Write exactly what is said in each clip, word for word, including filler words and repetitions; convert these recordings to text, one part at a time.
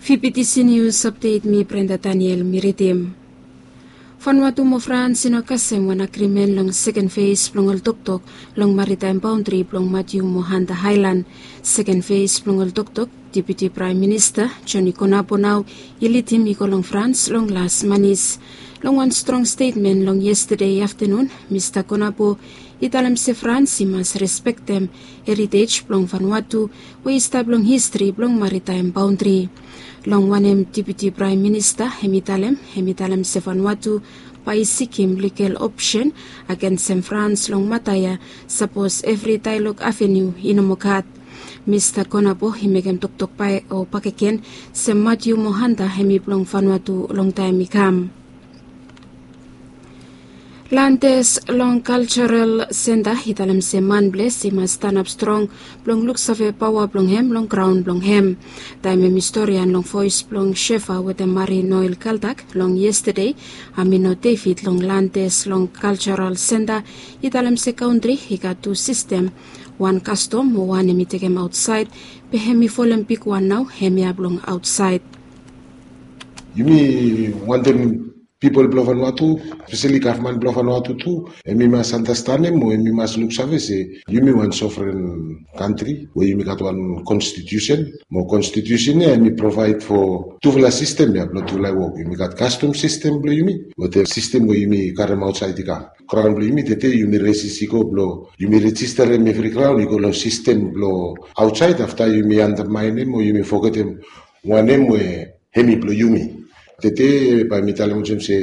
Fifty T C News Update, mi Brenda Daniel mi ridim. Vanuatu mo Frans i no kasem wan agrimen long seken fes blong ol toktok long maritaem baondri blong Matiu mo Hanta Aelan. Seken fes blong ol toktok Deputi Praem Minista Joni Konapo nao i lidim i go long Frans long las manis. Long wan strong stetmen long yestade aftanun, Mista Konapo i talem se Frans i mas respektem heritej blong Vanuatu we i stap long histri blong maritaem baondri. Long wanem Deputi Praem Minista hem i talem, hem i talem se Vanuatu bae i sikim ligal opsen agensem Frans long mata ya, sapos evri daelog avenu i no moa gat. Mista Konapo i mekem toktok bae o bakegen se Matiu mo Hanta hem i blong Vanuatu long taem i kam. Landes long Kaljaral Senta i talem se manples i mas stanap strong blong luksave paoa blong hem long graon blong hem. Taem hem i storian long voes blong Shefa wetem Mari Noel Kaldak long yestade, Amino David long Landes long Kaljaral Senta i talem se kantri i gat tu sistem, wan kastom mo wan hem i tekem aotsaed, be hem i folem bigwan nao hemia blong aotsaed. Yumi wantem pipol blong Vanuatu, espeseli gavman blong Vanuatu tu, hem i mas andastanem mo hem i mas luksave se yumi wan sovren kantri we yumi gat wan konstitusen, mo konstitusen ya hem i provaed fo tufala sistem ya blong tufala i wok. Yumi gat kastom sistem blong yumi wetem sistem we yumi karem aotsaed i kam. Graon blong yumi tede yumi resis i go blong yumi rejisterem evri graon i go long sistem blong aotsaed, afta yumi andamaenem o yumi fogetem wanem we hem i blong yumi. Tede bae mi talem olsem se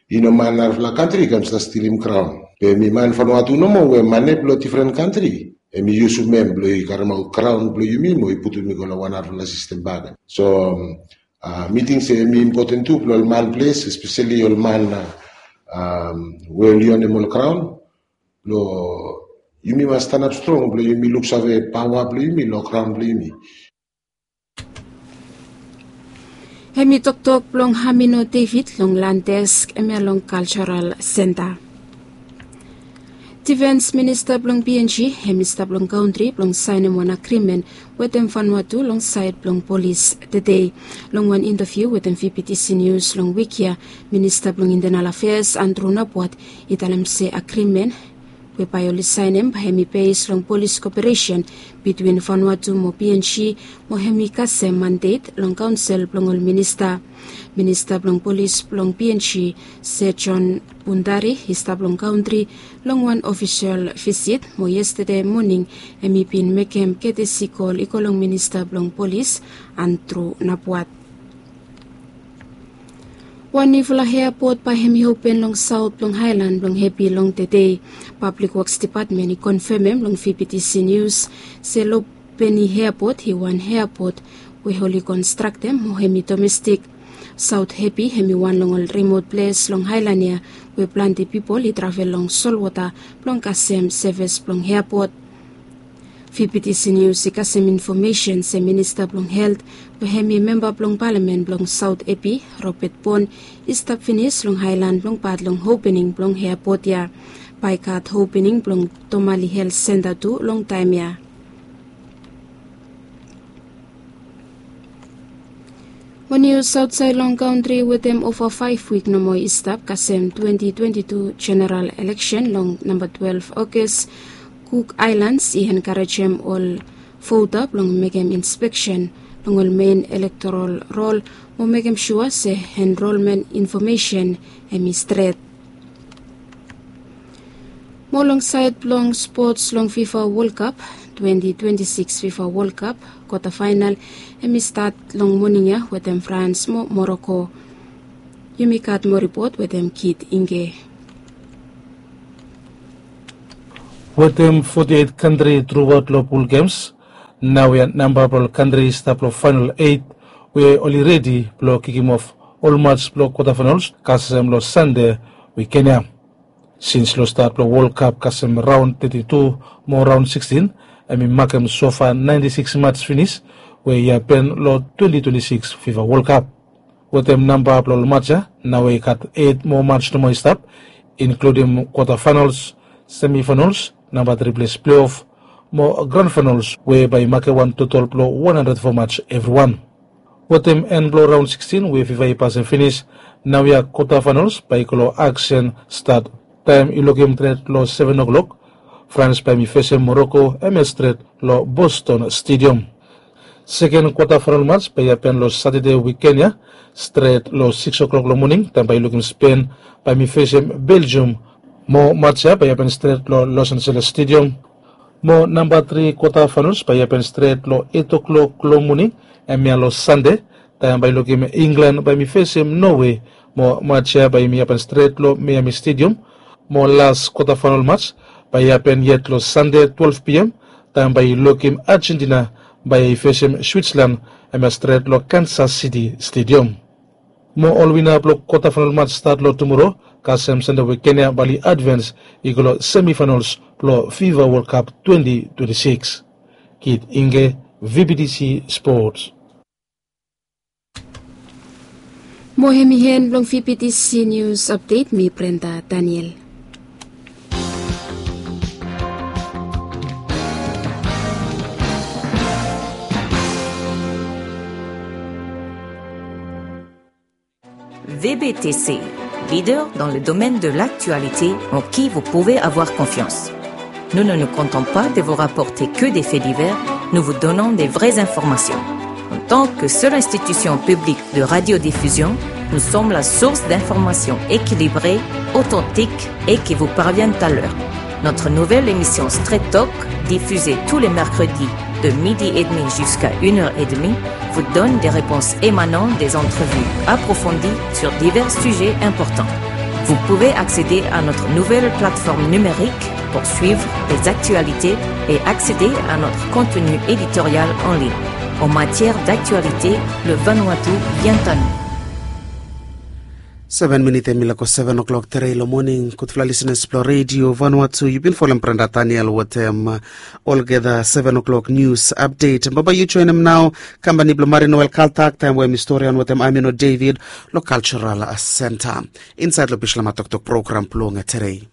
i no man narafala kantri i kam stap stilim graon. Be hem i man Vanuatu nomo we mane blong difren kantri hem i yusum hem blong i karemaot graon blong yumi mo i putum i go long wan narafala sistem bakegen. So, a, mi ting se hem i impoten tu blong ol manples, espeseli ol man, a, we oli onem ol graon, blong yumi mas stanap strong blong yumi luksave paoa blong yumi long graon blong yumi. Hem i toktok blong Amino David long Landes hemia long Kaljaral Senta. Difens Minista blong P N G hem i stap long kantri blong saenem wan agrimen wetem Vanuatu long saed blong polis tede. Long wan intaviu wetem V P T C Nius long wik ya, Minista blong Intenal Afeas Andru Napuat i talem se agrimen we bae oli saenem bae hem i bes long polis koperesen bitwin Vanuatu mo P N G, mo hem i kasem mandet long kaonsel blong ol minista. Minista blong polis blong P N G, Sir John Bundari, i stap long kantri long wan ofisol visit, mo yestade moning hem i bin mekem ketesi kol i go long minista blong polis, Andru Napuat. Wan niufala eapot bae hem i open long saot blong aelan blong Hepi long tede. Pablik Woks Depatmen i konfemem long V P T C Nius se Lubeni Eapot i wan eapot we oli konstraktem mo hem i domestik. Saot Hepi hem i wan long ol rimot ples long aelan ya we plante pipol i travel long solwota blong kasem sevis blong eapot. V P T C Nius i kasem infomesen se Minista blong Helt we hem i memba blong palamen blong Saot Hepi, Robet Bon, i stap finis long aelan blong pat long opening blong eapot ya. Bae i gat opening blong Tomali Helt Senta tu long taem ya. Wan nius aotsaed long kantri wetem ova faef wik nomo i stap kasem twenti twenti tu jeneral eleksen long namba twelef Ogas. Kuk Aelans i enkarejem ol vota blong mekem inspeksen long ol mein elektoral rol mo mekem sua se enrolmen infomesen hem i stret. Mo long saed blong spots long FIFA World Cup, twenti twenti sikis FIFA World Cup kwata faenal hem i stat long moning ya wetem Frans mo Moroko. Yumi gat moa ripot wetem Kit Inge. Wetem foti eit kantri truaot long pul gems, naoia namba blong ol kantri i stap long faenal eit we oli redi blong kikimof ol maj blong kwata faenols kasem long Sande wiken ya. Sins long stat blong Wol Kap kasem raon teti tu mo raon sikstin, hem i makem sofa naenti sikis maj finis we i hapen long twenti twenti sikis FIFA Wol Kap. Wetem namba blong ol maj ya, naoia i gat eit moa maj nomo i stap, inkludim kwata faenols, semi faenols, namba tri ples pleof mo gran faenols we bae i makem wan totol blong wan handred fo maj evriwan. Wetem en blong raon sikstin we fifa i pasem finis, naoia kwota faenols bae i go long aksen stat. Taem i lukim tret long seven o'klok, frans bae mi fesem moroko, hemia stret long boston stedium. Seken kwota faenol mats bae i hapen long satade wiken ya, stret long siks o'klok long moning taem bae i lukim spen bae mi fesem belgium. Mo mats ya bae i hapen stret long los angeles stedium. Mo namba tri kwota faenols bae i hapen stret long et o'klok long moning, hemia long sande, taem bae i lukim inglan bae mi fesem nowe. Mo mats ya bae i mi hapen stret long miami stedium. Mo las kwota faenol mats bae i hapen yet long sande twelve pm, taem bae i lukim argentina bae i fesem switzerland, hemia stret long kansas siti stedium. Mo ol wina blong kwota faenol mats stat long tumoro, kasem sande wiken ya bae oli advens i go long semifaenols blong fifa wol kap twenti twenti siks. Kit inge, vbtc sports. Mo hemi hen blong vbtc nius apdet, mi brenda daniel. Vbtc, leader dans le domaine de l'actualité en qui vous pouvez avoir confiance. Nous ne nous comptons pas de vous rapporter que des faits divers, nous vous donnons des vraies informations. En tant que seule institution publique de radiodiffusion, nous sommes la source d'informations équilibrées, authentiques et qui vous parviennent à l'heure. Notre nouvelle émission Straight Talk, diffusée tous les mercredis de midi et demi jusqu'à une heure et demie, vous donne des réponses émanant des entrevues approfondies sur divers sujets importants. Vous pouvez accéder à notre nouvelle plateforme numérique pour suivre les actualités et accéder à notre contenu éditorial en ligne. En matière d'actualité, le Vanuatu vient à nous. Seven minit em i lako seven o'clock tere i lo moning. Gudfala listeners blo redio vanuatu, yu bin folem brenda daniel wetem olgeta seven o'clock news update. Baba yu joinim nao kampani blo mari noel kaltak taem we em i storian wetem amino david lo cultural center insaed lo bislama toktok program blong tere.